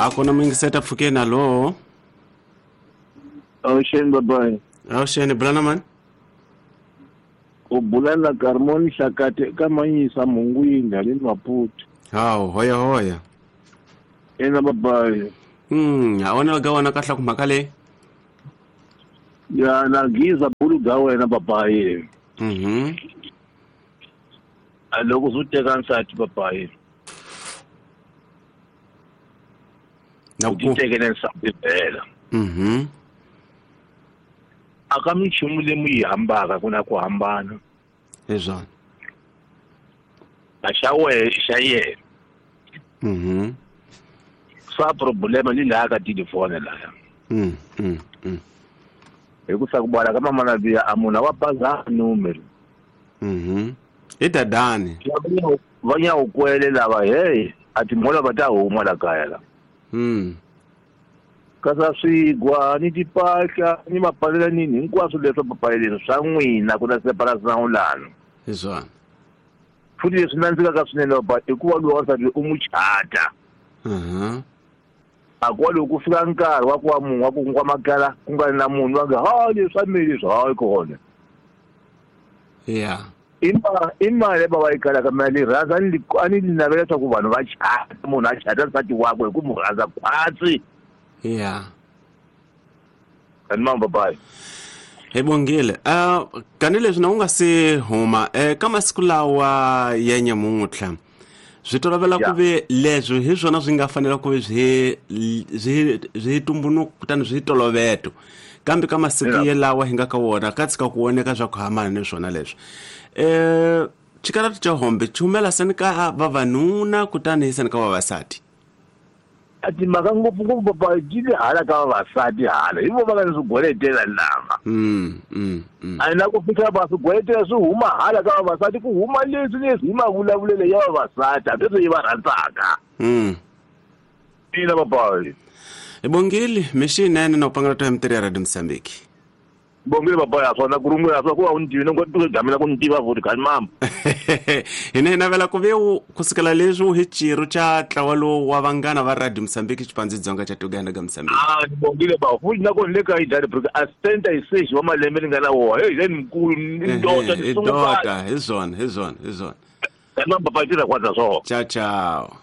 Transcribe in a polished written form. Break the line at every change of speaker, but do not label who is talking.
A ku na muyingiseta pfukeni, alo.
Avuxeni babayi.
Avuxeni, bula na mani?
U bula na Carmon Hlakati eka Manyisa Mhungwini haleni Maputo.
Hawu, hoya hoya.
Ina babayi.
A wona ga wona kahle ku mhaka leyi.
Ya na giza bulu ga wena babayi. A loko swi teka nsati babayi.
Na
U
ku.
titekele nsati vhela. A ka minchumu leyi mu yi hambaka ku na ku hambana.
Hi swona.
A xa wehe i xa yena. Swa problema ni laha ka telefoni laya. Hi ku sa ku bala ka mamana biya a munhu a wa baza numero.
I dadani.
Va nyawukwele lava hey a timhola va ta huma la kaya la. Kasi swigwa ni tipahla ni mapalela nini hinkwaswo leswi papaleleni swa n'wina ku na separation lana.
Hi swona.
Futhi leswi nandzikaka swinene baba i ku va loyi wansati u n'wi chata. A ku va loko ku fika nkarhi wa ku wa munhu wa ku wa makala ku nga ri na munhu va nge ha leswi swa mina leswi hayi kona. I mali baba yi kalaka mina ni rhandza ni a ni navela leswaku vanhu va chata, munhu a chata nsati wakwe hi ku mu rhandza khwatsi. Ani mama babayi.
Hi bongile. Kanileswi na u nga se huma ka masiku lawa ya nyamuntlha swi tolovela ku ve leswi hi swona swi nga fanela ku ve swi tumbunuko kutani swi toloveto, kambe ka masiku yelawa hi nga ka wona ka tshika ku voneka swa ku hambana ni swona leswi. Xikarati xa hombe xi humela seni ka vavanuna kutani hi seni ka vavasati.
A timhaka ngopfungopfu papa ti le hala ka vavasati hala hi vo va nga ni swigweletela lava. A na ku fika va swigweletela swi huma hala ka vavasati ku huma leswi leswi hi mavulavulelo ya vavasati hambi leswi yi va rhandzaka. Ina papa.
Hi bongile mixinene na ku pangela to ya mitirho ya Radio Mozambique.
Bongile papa ya swona ku rungula swa ku va u ni tivile ngo tu gamela ku ni tiva futhi kani mama.
Hina hi navela ku ve u kusukela leswi u hi xirho xa ntlawa lowu wa vanghana va Radio Mozambique Xipandzi Dzonga xa Uganda ka Mozambique.
Ah, ni bongile ba futhi na kona le ka yi data because a center hi stage wa malembe ni nga na wona. Hey, then mkulu ni ndota ni
Hi
sungula.
ndota, hi swona, hi swona, hi swona.
Kani mama papa tirha kwata swona.
Ciao ciao.